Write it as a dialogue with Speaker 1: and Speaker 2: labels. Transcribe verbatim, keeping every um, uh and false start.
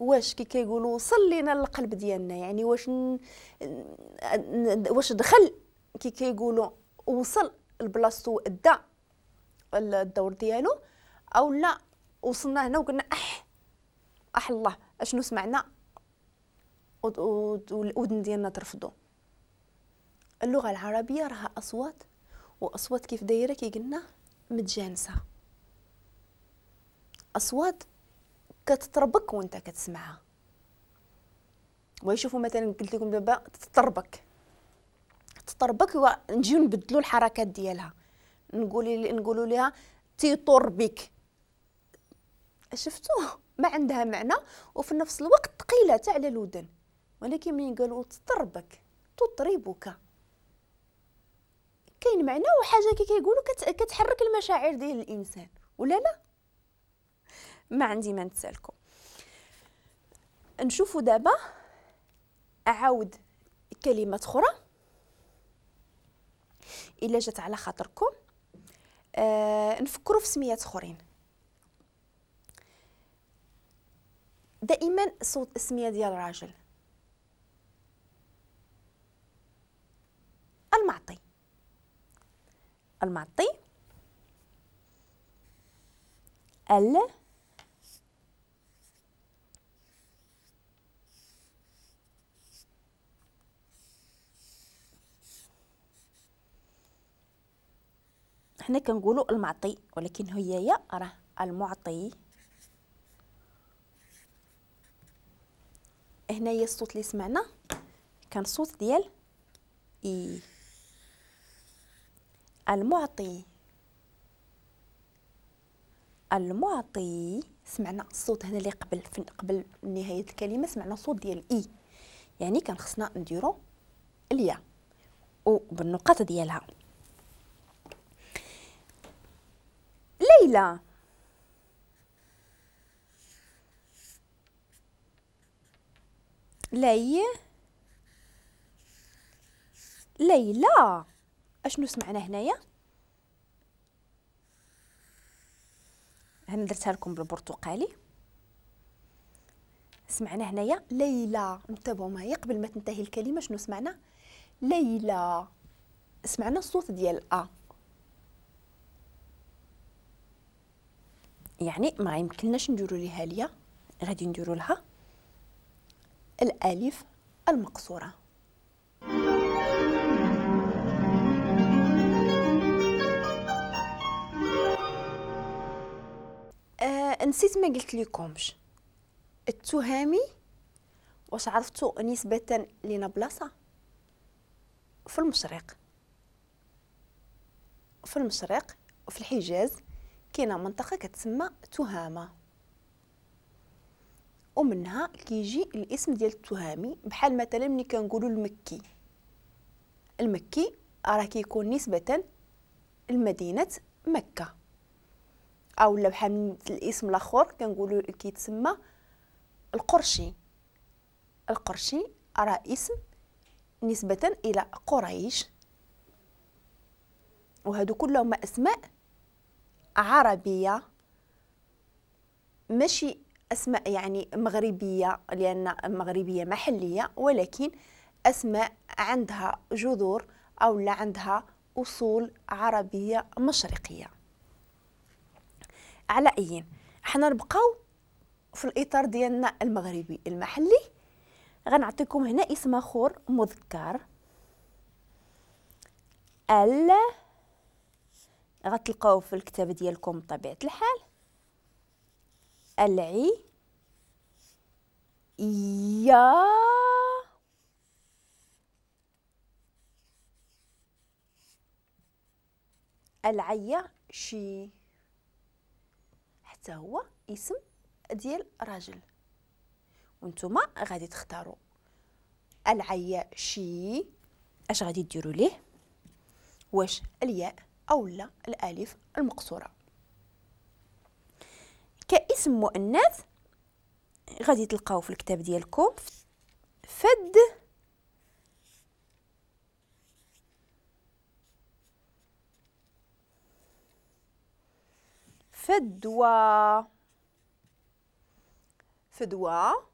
Speaker 1: واش كي كيقولوا وصل لينا للقلب ديالنا، يعني واش ن... واش دخل كي كيقولوا وصل لبلاصتو ادى الدور ديالو، او لا وصلنا هنا وقلنا اح اح الله اشنو سمعنا والاذن ديالنا ترفضوا. اللغة العربية راها اصوات، واصوات كيف دايرة كي قلنا متجانسة، اصوات كتطربك وانت كتسمعها. ويشوفوا مثلا قلت لكم دابا تطربك تطربك ونجيو نبدلوا الحركات ديالها، نقول نقولوا لها تيطربك، شفتوه ما عندها معنى وفي نفس الوقت ثقيلة حتى على الودن، ولكن ملي قالوا تطربك تطربك كاين معنى وحاجه كي كيقولوا كتحرك المشاعر ديال الانسان ولا لا؟ ما عندي ما نتسالكم. نشوفوا دابا اعاود كلمات اخرى الا جات على خاطركم. آه نفكروا في سميات اخرين. دائما صوت السمية ديال الراجل المعطي، المعطي، ال حنا كنقولوا المعطي ولكن هي يا راه المعطي. هنايا الصوت اللي سمعنا كان صوت ديال اي، المعطي المعطي. سمعنا الصوت هنا اللي قبل قبل نهاية الكلمة سمعنا صوت ديال اي، يعني كان خصنا نديرو الياء وبالنقاط ديالها. ليلى، لي ليلى. اشنو سمعنا هنايا؟ هنا درتها لكم بالبرتقالي. سمعنا هنايا ليلى، انتبهوا معايا قبل ما تنتهي الكلمة شنو سمعنا؟ ليلى، سمعنا الصوت ديال ا، يعني ما يمكنناش نديرو ليها الياء، غادي نديرو لها الالف المقصورة. آه نسيت ما قلت لكمش التهامي، واش عرفتوا نسبه لنا بلاصة في المشرق، في المشرق وفي الحجاز كاينه منطقة كتسمى تهامه، ومنها كيجي الاسم ديال التهامي. بحال مثلا ملي كنقولوا المكي، المكي راه كيكون نسبه لمدينة مكة، او لا بحال الاسم الاخر كنقولوا كيتسمى القرشي، القرشي راه اسم نسبه الى قريش. وهادو كلهم اسماء عربية ماشي اسماء يعني مغربية، لان مغربية محليه، ولكن اسماء عندها جذور او لا عندها اصول عربية مشرقيه. على اي حنا نبقاو في الاطار ديالنا المغربي المحلي. غنعطيكم هنا اسم اخر مذكر، ال غتلقاوه في الكتاب ديالكم بطبيعة الحال، العي يا العياشي، حتى هو اسم ديال راجل، وانتم غادي تختاروا العياشي. اش غادي ديروا ليه؟ واش الياء او لا الالف المقصورة؟ كاسم مؤنث غادي تلقاو في الكتاب ديالكم فد فدوى، فدوى